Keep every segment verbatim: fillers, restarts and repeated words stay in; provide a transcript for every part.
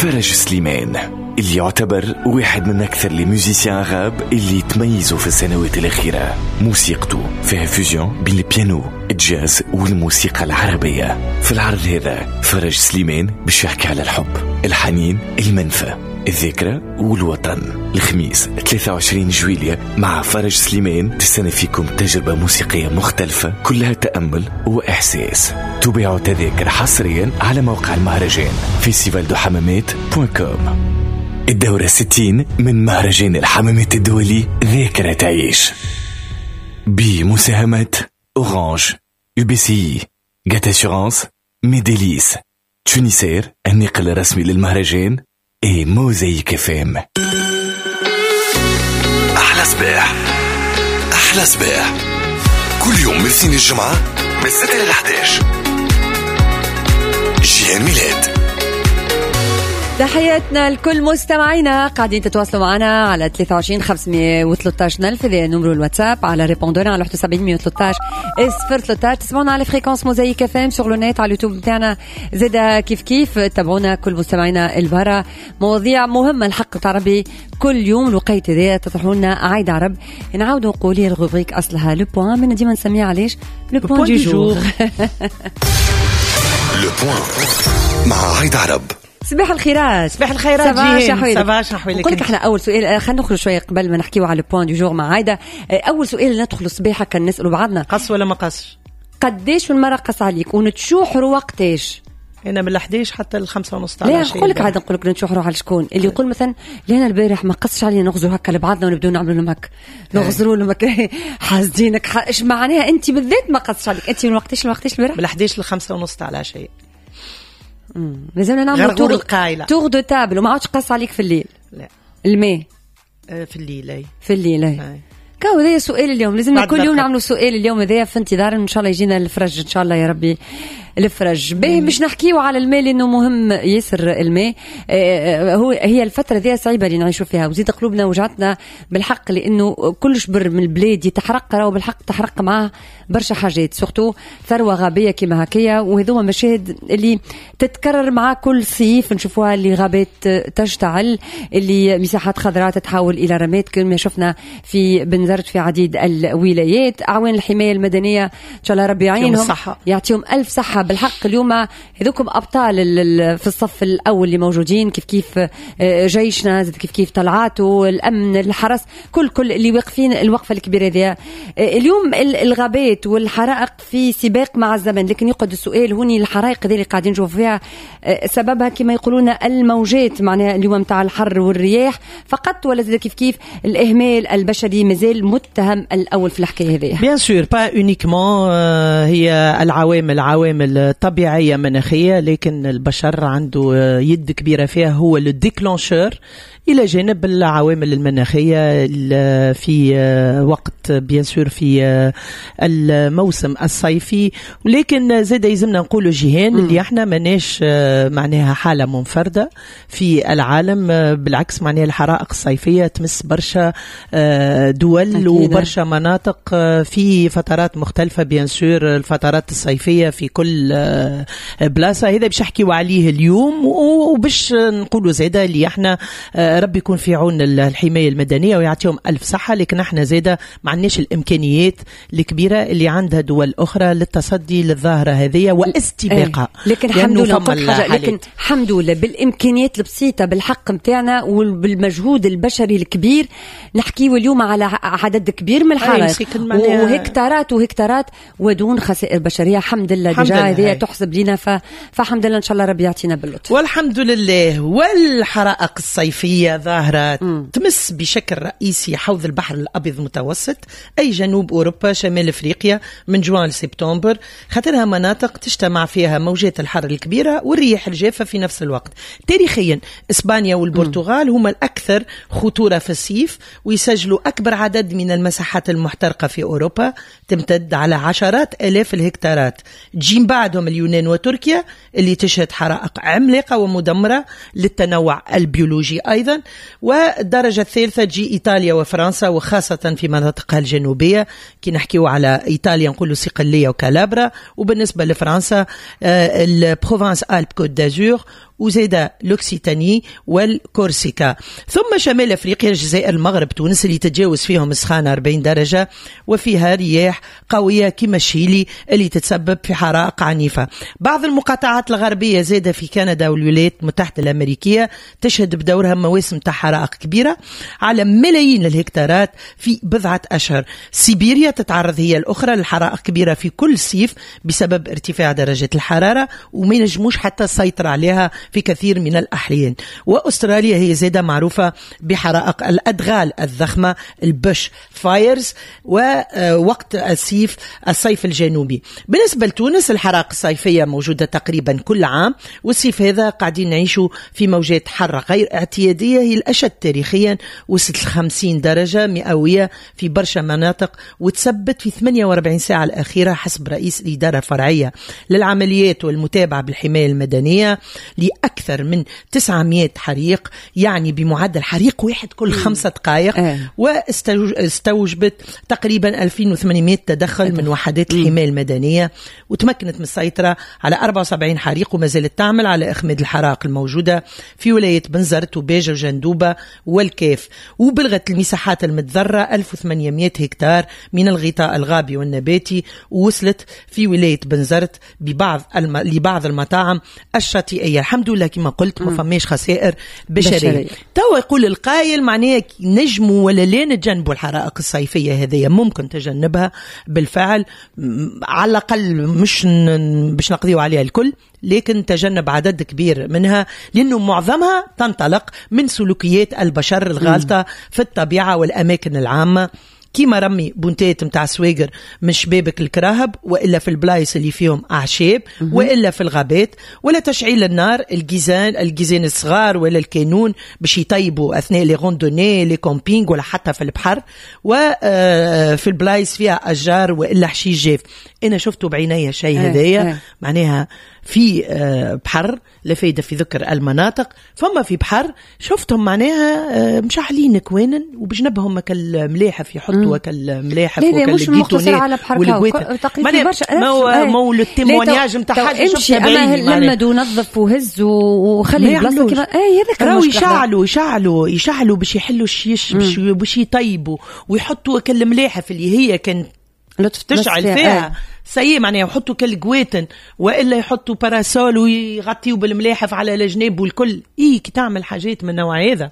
فرج سليمان اللي يعتبر واحد من أكثر les musiciens arabes اللي تميزوا في السنوات الأخيرة. موسيقته فيها fusion بين البيانو، الجاز والموسيقى العربية. في العرض هذا فرج سليمان باش يحكي على الحب، الحنين، المنفى، الذاكرة والوطن. الخميس ثلاثة وعشرين جويلية مع فرج سليمان تستنى فيكم تجربة موسيقية مختلفة كلها تأمل وإحساس. تباع تذاكر حصريا على موقع المهرجان festival de Hammamet point com. الدورة ستين من مهرجان الحمامات الدولي ذاكرة تعيش، بمساهمة Orange، UBCI، GAT Assurances، Médélis، Tunisair الناقل الرسمي للمهرجان، اي Mosaïque FM. احلى صباح، احلى صباح كل يوم من اثنين الجمعة من ستة ل أحد عشر. جيهان ميلاد. تحياتنا لكل مستمعينا قاعدين تتواصلوا معنا على ثلاثة وعشرين خمسمية وثلاثطاش ألف، هذا numéro الواتساب، على répondeur على واحد وسبعين مية وثلاثطاش صفر ثلاثطاش. تسمعونا على fréquence Mosaïque FM sur le net، على اليوتيوب نتاعنا زادا كيف كيف. تابعونا كل مستمعينا البرا، مواضيع مهمة الحق تاع ربي كل يوم الوقيت هذا تطرحوا لنا عايدة عرب. نعاودوا نقول ال rubrique اصلها le point، من ديما نسميها علاش le point du jour. le point مع عايدة عرب. صباح الخيرات. صباح الخيرات جيهان، صباح شحوالك؟ نقول لك احنا اول سؤال، خلينا نخرج شوية قبل ما نحكيو على point du jour مع عايده. اول سؤال ندخل الصباح هكا نسالوا بعضنا، قص ولا ما قصش؟ قداش من مرة قص عليك ونتشوحروا وقتاش؟ انا من الحداش حتى الخمسة ونص تاع العشية. لا نقول لك عاد، نقول لك نتشوحروا على شكون اللي يقول مثلا لينا البارح ما قصش علينا، نغزروا هكا لبعضنا ونبداو نعملوا لهم هكا، نغزروا لهم هكا حاسدينك. ايش معناها انت بالذات ما قصش عليك؟ انت من وقتاش لوقتاش البارح؟ من الحداش للخمسة ونص تاع العشية. لازمنا نعمل tour tour de table. وما عادش قص عليك في الليل؟ لا. الماء في الليل. اي في الليل. اي كاو هذا سؤال اليوم، لازمنا كل يوم نعملوا سؤال اليوم هذايا في انتظار ان شاء الله يجينا الفرج، ان شاء الله يا ربي الفرج. باهي باش نحكيو على الماء لانه مهم ياسر الماء. آه هو هي الفترة ذي صعيبة اللي نعيشوا فيها، وزيد قلوبنا وجعتنا بالحق لانه كل شبر من البلاد يتحرق، راهو بالحق تحرق معاه برشا حاجات، surtout ثروة غابيه كيما هكايا. وهذوما مشاهد اللي تتكرر مع كل صيف نشوفوها، اللي غابات تشتعل، اللي مساحات خضراء تتحول الى رماد كما شفنا في بنزرت في عديد الولايات. اعوان الحماية المدنية ان شاء الله ربي يعينهم، يعطيهم الف صحة بالحق. اليوم هذوكم ابطال في الصف الاول اللي موجودين، كيف كيف جيشنا زاد كيف كيف طلعاته، الامن، الحرس، كل كل اللي واقفين الوقفة الكبيرة هذه. اليوم الغابات والحرائق في سباق مع الزمن، لكن يقعد السؤال هوني الحرائق هذه اللي قاعدين نشوفوا فيها سببها كما يقولون الموجات، معناها اليوم نتاع الحر والرياح فقط، ولا زاد كيف كيف الاهمال البشري مازال متهم الاول في الحكاية هذه؟ bien sûr pas uniquement هي العوامل عوامل طبيعية مناخية، لكن البشر عنده يد كبيرة فيها، هو ال déclencheur إلى جانب العوامل المناخية في وقت bien sûr في الموسم الصيفي. ولكن زاد يلزمنا نقولوا جيهان اللي احنا ماناش معناها حالة منفردة في العالم، بالعكس معناها الحرائق الصيفية تمس برشا دول وبرشا مناطق في فترات مختلفة، bien sûr الفترات الصيفية في كل بلاصة. هذا باش نحكيو عليه اليوم، وباش نقولوا زاده اللي احنا ربي يكون في عون الحماية المدنية ويعطيهم ألف صحة، لكن احنا زاده ما عندناش الإمكانيات الكبيرة اللي عندها دول أخرى للتصدي للظاهرة هذه واستباقها. لكن الحمد لله، لكن الحمد لله بالإمكانيات البسيطة بالحق متاعنا وبالمجهود البشري الكبير نحكيو اليوم على عدد كبير من الحرائق وهكتارات وهكتارات ودون خسائر بشرية. الحمد لله déjà هذه تحسب لنا، ف... فالحمد لله ان شاء الله ربي يعطينا باللطف والحمد لله. والحرائق الصيفية ظاهرة تمس بشكل رئيسي حوض البحر الأبيض المتوسط، أي جنوب أوروبا، شمال أفريقيا، من جوان لسبتمبر، خاطرها مناطق تجتمع فيها موجات الحر الكبيرة والرياح الجافة في نفس الوقت. تاريخيا إسبانيا والبرتغال هما الأكثر خطورة في الصيف، ويسجلوا أكبر عدد من المساحات المحترقة في أوروبا، تمتد على عشرات آلاف الهكتارات. تجي بعدهم اليونان وتركيا اللي تشهد حرائق عملاقة ومدمرة للتنوع البيولوجي أيضا. والدرجة الثالثة تجي إيطاليا وفرنسا، وخاصة في مناطقها الجنوبية. كي نحكيو على إيطاليا نقولوا صقلية وكالابرا، وبالنسبة لفرنسا ال Provence-Alpes-Côte d'Azur وزادة l'Occitanie والكورسيكا. ثم شمال أفريقيا، الجزائر، المغرب، تونس اللي تتجاوز فيهم السخانة أربعين درجة وفيها رياح قوية كما الشيلي اللي تتسبب في حرائق عنيفة. بعض المقاطعات الغربية زادة في كندا والولايات المتحدة الأمريكية تشهد بدورها مواسم تاع حرائق كبيرة على ملايين الهكتارات في بضعة أشهر. سيبيريا تتعرض هي الأخرى للحرائق كبيرة في كل صيف بسبب ارتفاع درجة الحرارة وما ينجموش حتى السيطرة عليها في كثير من الأحيان. وأستراليا هي زادة معروفة بحرائق الأدغال الضخمة ال bush fires ووقت الصيف الصيف الجنوبي. بالنسبة لتونس الحرائق الصيفية موجودة تقريبا كل عام، والصيف هذا قاعدين نعيشوا في موجات حر غير اعتيادية هي الأشد تاريخيا، وصلت خمسين درجة مئوية في برشا مناطق وتثبت في ثمانية وأربعين ساعة الأخيرة حسب رئيس الإدارة الفرعية للعمليات والمتابعة بالحماية المدنية لأكثر من تسعمائة حريق، يعني بمعدل حريق واحد كل خمسة دقائق، واستوجبت تقريبا ألفين وثمانمائة تدخل من وحدات الحماية المدنية، وتمكنت من السيطرة على أربعة وسبعين حريق وما زالت تعمل على إخماد الحرائق الموجودة في ولاية بنزرت وباجة وجندوبة والكاف. وبلغت المساحات المتضررة ألف وثمانمائة هكتار من الغطاء الغابي والنباتي، ووصلت في ولاية بنزرت ببعض الم... لبعض المطاعم الشاطئية. الحمد لله كما قلت ما فماش خسائر بشرية. بشرية. توا يقول القايل معناه نجموا ولا لا نتجنبوا الحرائق الصيفية هذه؟ ممكن تجنبها بالفعل، على الأقل مش ن... باش نقضيو عليها الكل، لكن تجنب عدد كبير منها، لأنه معظمها تنطلق من سلوكيات البشر الغالطة في الطبيعة والأماكن العامة، كيما رمي بونتات متاع سواقر من شبابك الكراهب، وإلا في البلايص اللي فيهم أعشاب، وإلا في الغابات، ولا تشعيل النار، الجيزان الجيزان الصغار ولا الكانون باش يطيبوا أثناء les randonnées les campings، ولا حتى في البحر، وفي البلايص فيها أشجار وإلا حشيش جاف. أنا شفته بعيني شيء هذايا، معناها في بحر لا فايدة في ذكر المناطق، فما في بحر شفتهم معناها مشعلين كوانن وبجنبهم كالملاحف يحطوا كالملاحف وكالجيتونات على بحر تقريبا. ما هو ما هو ال témoignage نتاع حاجة شفتها بعيني، لمد ونظف وهز وخلي البلاصة كيما اي هذاك. راهو يشعلوا يشعلوا يشعلوا باش يحلوا الشيش، باش باش يطيبوا ويحطوا كالملاحف اللي هي كانت لطف تشعل فيها سيء معناها، يحطوا كالجواتن والا يحطوا parasol ويغطيوا بالملاحف على الجناب والكل. اي كي تعمل حاجات من نوع هذا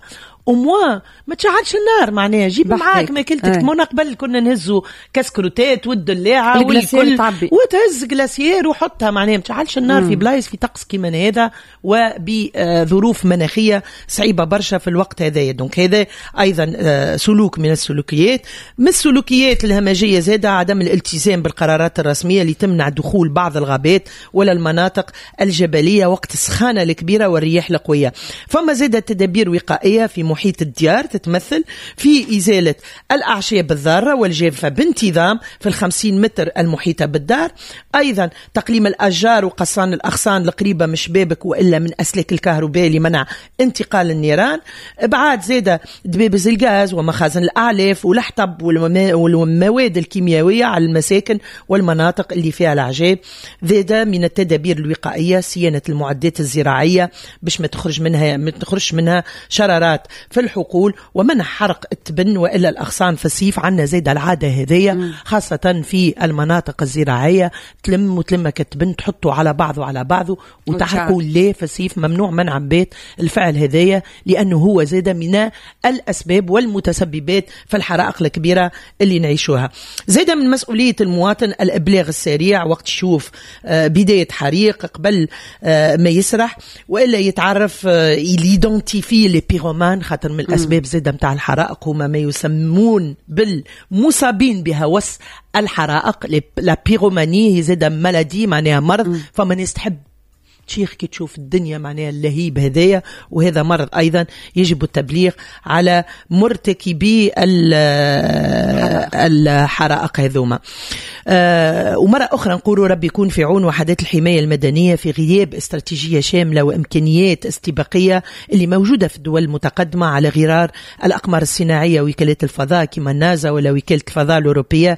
au moins ما تشعلش النار، معناها جيب معاك ماكلتك. من قبل كنا نهزوا كسكروتات والدلاعه والكل، وتهز glacière وحطها، معناها ما تشعلش النار في بلايص في طقس كيما هذا وبظروف مناخيه صعيبة برشا في الوقت هذايا. donc هذا ايضا سلوك من السلوكيات. من السلوكيات الهمجية زاده عدم الالتزام بالقرارات الرسمية اللي تمنع دخول بعض الغابات ولا المناطق الجبلية وقت السخانه الكبيرة والرياح القوية. فما زاده تدابير وقائيه في محيط الديار تتمثل في إزالة الأعشاب الضارة والجافة بانتظام في الخمسين متر المحيطة بالدار، أيضا تقليم الأشجار وقصان الأغصان القريبة من شبابك وإلا من أسلاك الكهرباء لمنع انتقال النيران، إبعاد زادة دبابز الغاز ومخازن الأعلاف والحطب والمواد الكيميائية على المساكن والمناطق اللي فيها الأعشاب. زادة من التدابير الوقائية صيانة المعدات الزراعية باش ما تخرج منها ما تخرجش منها شرارات في الحقول، ومنع حرق التبن وإلا الأغصان في الصيف. عندنا زاد العادة هذية خاصة في المناطق الزراعية، تلم وتلمك التبن تحطه على بعضه على بعضه وتحرقوا. ليه في الصيف ممنوع منع بيت الفعل هذايا، لأنه هو زاد من الأسباب والمتسببات في الحرائق الكبيرة اللي نعيشوها. زاد من مسؤولية المواطن الإبلاغ السريع وقت يشوف بداية حريق قبل ما يسرح، وإلا يتعرف il identifie les pyromanes، خاطر من الأسباب زادة متاع الحرائق هما ما يسمون بالمصابين بهوس الحرائق، la pyromanie هي زادة maladie معناها مرض. فما ناس تحب تشيخ كي تشوف الدنيا معناها اللهيب هذايا، وهذا مرض أيضا يجب التبليغ على مرتكبي الحرائق هذوما. أه ومرة أخرى نقولوا ربي يكون في عون وحدات الحماية المدنية في غياب استراتيجية شاملة وإمكانيات استباقية اللي موجودة في الدول المتقدمة على غرار الأقمار الصناعية وكالات الفضاء كما النازا ولا وكالة الفضاء الأوروبية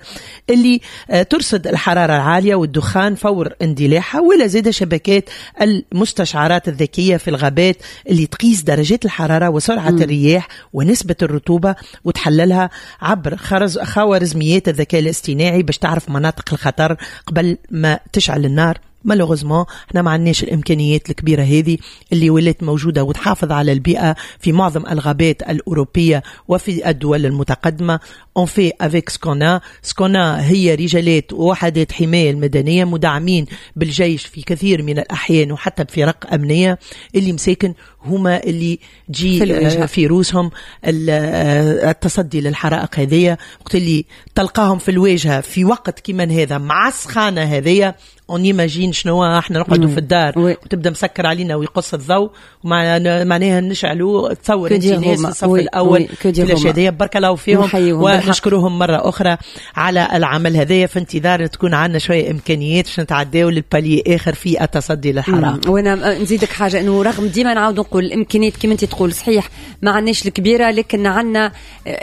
اللي ترصد الحرارة العالية والدخان فور اندلاعها، ولا زاد شبكات المستشعرات الذكية في الغابات اللي تقيس درجات الحرارة وسرعة م. الرياح ونسبة الرطوبة وتحللها عبر خرز خوارزميات الذكاء الاصطناعي باش تعرف مناطق الخطر قبل ما تشعل النار. malheureusement احنا ما عندناش الامكانيات الكبيرة هذه اللي ولات موجودة وتحافظ على البيئة في معظم الغابات الاوروبية وفي الدول المتقدمة. on fait avec ce qu'on a. ce qu'on a هي رجالات ووحدات حماية المدنية مدعمين بالجيش في كثير من الاحيان وحتى بفرق امنية اللي مساكن هما اللي تجي في, في روسهم التصدي للحرائق هذية. وقت اللي تلقاهم في الواجهة في وقت كيما هذا مع السخانه هذية، on imagine شنو احنا نقعدوا في الدار وتبدا مسكر علينا ويقص الضوء ومعناها نشعلوا. تصور انت ناس في الصف الاول في الاشياء. بارك الله فيهم ونشكرهم مرة اخرى على العمل هذايا، في انتظار تكون عندنا شوية امكانيات باش نتعداو لل palier اخر في التصدي للحرائق. وانا نزيدك حاجة، انه رغم ديما نعاود نقول الامكانيات كما انت تقول صحيح ما عندناش الكبيرة، لكن عندنا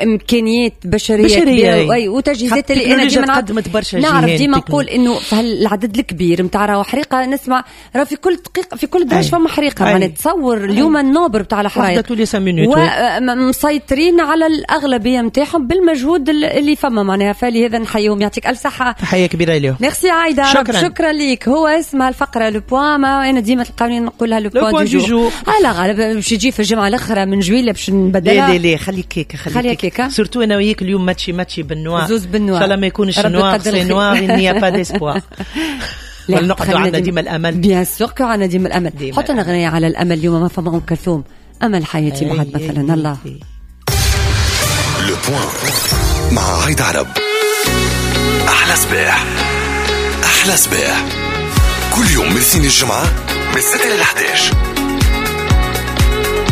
امكانيات بشرية, بشرية كبيرة وتجهيزات اللي انا ديما قدمت برشا. نعرف ديما نقول انه في العدد الكبير نتاع راهو حريقة، نسمع راه في كل دقيقة في كل درج فما حريقة. معناها تصور اليوم ال nombre نتاع الحرايق ومسيطرين على الاغلبية نتاعهم بالمجهود اللي فما معناها، فلهذا نحييهم. يعطيك الف صحة، تحية كبيرة لهم. ميرسي عايدة، شكرا شكرا ليك. هو اسمها الفقرة le point، ما انا ديما تلقاوني نقولها le point du jour. على غالب باش تجي في الجمعة الاخرى من جويله باش نبدلها. لا لا خليك هكاك، خليك هكاك، surtout انا وياك اليوم ماتشي ماتشي بال noir، زوز بال noir، ان شاء الله ما يكونش noir c'est noir il n'y a pas d'espoir. نقعدوا عندنا ديما الامل، bien sûr que عندنا ديما الامل. حط لنا غنية على الامل اليوم، ما فما ام كلثوم امل حياتي بعد مثلا. الله le point مع عايدة عرب. احلى صباح، احلى صباح كل يوم من الاثنين الجمعة من ستة ل إحدى عشر.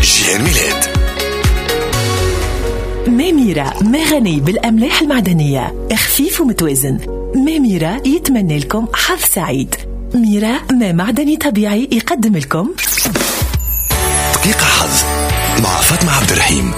جيهان ميلاد. ميرا مغني بالأملاح المعدنية، خفيف ومتوازن. ميرا يتمنى لكم حظ سعيد. ميرا ما معدني طبيعي يقدم لكم دقيقة حظ مع فاطمة عبد الرحيم.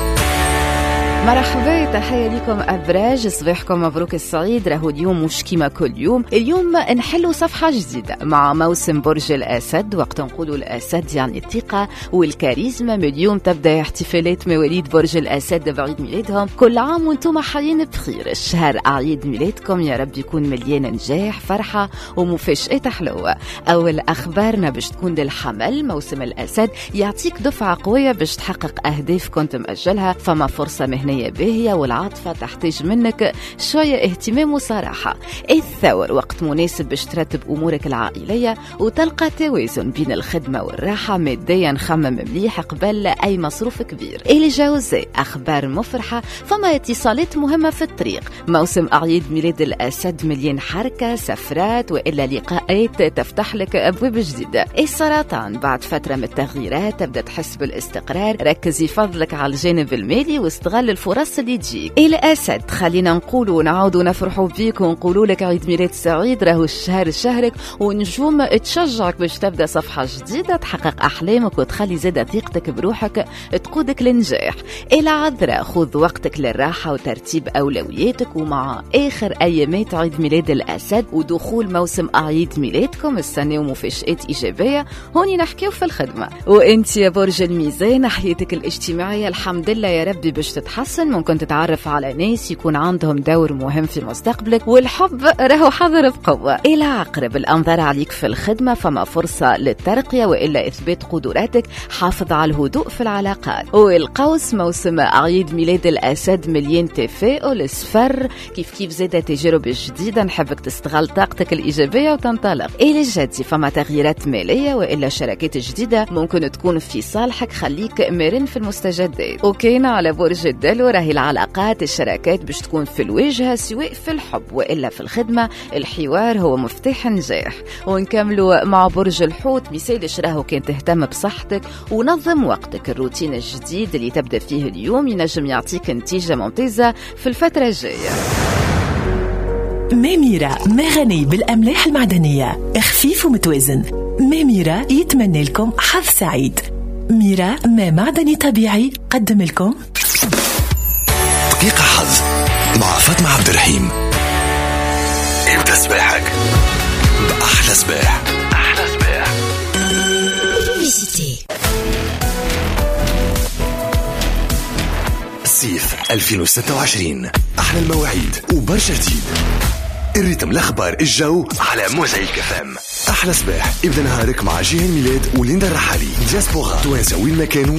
مرحبا، تحية لكم أبراج، صباحكم مبروك السعيد. راهو اليوم مش كيما كل يوم، اليوم نحلوا صفحة جديدة مع موسم برج الأسد. وقت نقولوا الأسد يعني الثقة والكاريزما. من اليوم تبدأ احتفالات مواليد برج الأسد بعيد ميلادهم. كل عام وانتم حيين بخير. الشهر أعياد ميلادكم يا رب يكون مليان نجاح، فرحة ومفاجآت حلوة. أول أخبارنا باش تكون للحمل. موسم الأسد يعطيك دفعة قوية باش تحقق أهداف كنت مأجلها، فما فرصة مهنية باهية والعاطفة تحتاج منك شوية اهتمام وصراحة. الثور وقت مناسب باش ترتب أمورك العائلية وتلقى توازن بين الخدمة والراحة. ماديا خمم مليح قبل أي مصروف كبير. الجوزاء أخبار مفرحة، فما اتصالات مهمة في الطريق. موسم أعياد ميلاد الأسد مليان حركة، سفرات وإلا لقاءات تفتح لك أبواب جديدة. السرطان بعد فترة من التغييرات تبدأ تحس بالاستقرار. ركزي فضلك على الجانب المالي واستغل الفرص اللي تجيك. الأسد خلينا نقولوا ونعاودوا نفرحوا بيك ونقولوا لك عيد ميلاد سعيد. راهو الشهر شهرك ونجوم تشجعك باش تبدا صفحة جديدة، تحقق أحلامك وتخلي زادة ثقتك بروحك تقودك للنجاح. العذراء خذ وقتك للراحة وترتيب أولوياتك. ومع آخر أيامات عيد ميلاد الأسد ودخول موسم أعياد ميلادكم السنة ومفاجآت إيجابية، هوني نحكيو في الخدمة. وانت يا برج الميزان حياتك الاجتماعية الحمد لله يا ربي باش تتحسن. ممكن تتعرف على ناس يكون عندهم دور مهم في مستقبلك، والحب راهو حاضر بقوة. إلى عقرب الأنظار عليك في الخدمة، فما فرصة للترقية وإلا إثبات قدراتك. حافظ على الهدوء في العلاقات. والقوس موسم أعياد ميلاد الأسد مليان تفاؤل، السفر كيف كيف زادة تجارب جديدة. نحبك تستغل طاقتك الإيجابية وتنطلق. إلى الجدي فما تغييرات مالية وإلا شراكات جديدة ممكن تكون في صالحك. خليك مرن في المستجدات. وكان على برج الدلو راهي العلاقات الشراكات باش تكون في الواجهة، سواء في الحب وإلا في الخدمة. الحوار هو مفتاح النجاح. ونكملوا مع برج الحوت. مثال راهو كان تهتم بصحتك ونظم وقتك. الروتين الجديد اللي تبدأ فيه اليوم ينجم يعطيك نتيجة ممتازة في الفترة الجاية. ميرا مغني بالأملاح المعدنية، خفيف ومتوازن. ميرا يتمنى لكم حظ سعيد. ميرا ما معدني طبيعي قدم لكم دقيقة حظ مع فاطمة عبد الرحيم. ابدأ صباحك بأحلى صباح. أحلى صباح. صيف ألفين وستة وعشرين، احلى المواعيد وبرشا جديد، ال rythme، الاخبار، الجو على موزايك اف ام. احلى صباح، ابدا نهارك مع جيهان ميلاد وليندا الرحالي. دياسبورا، توانسة وين ما كانوا.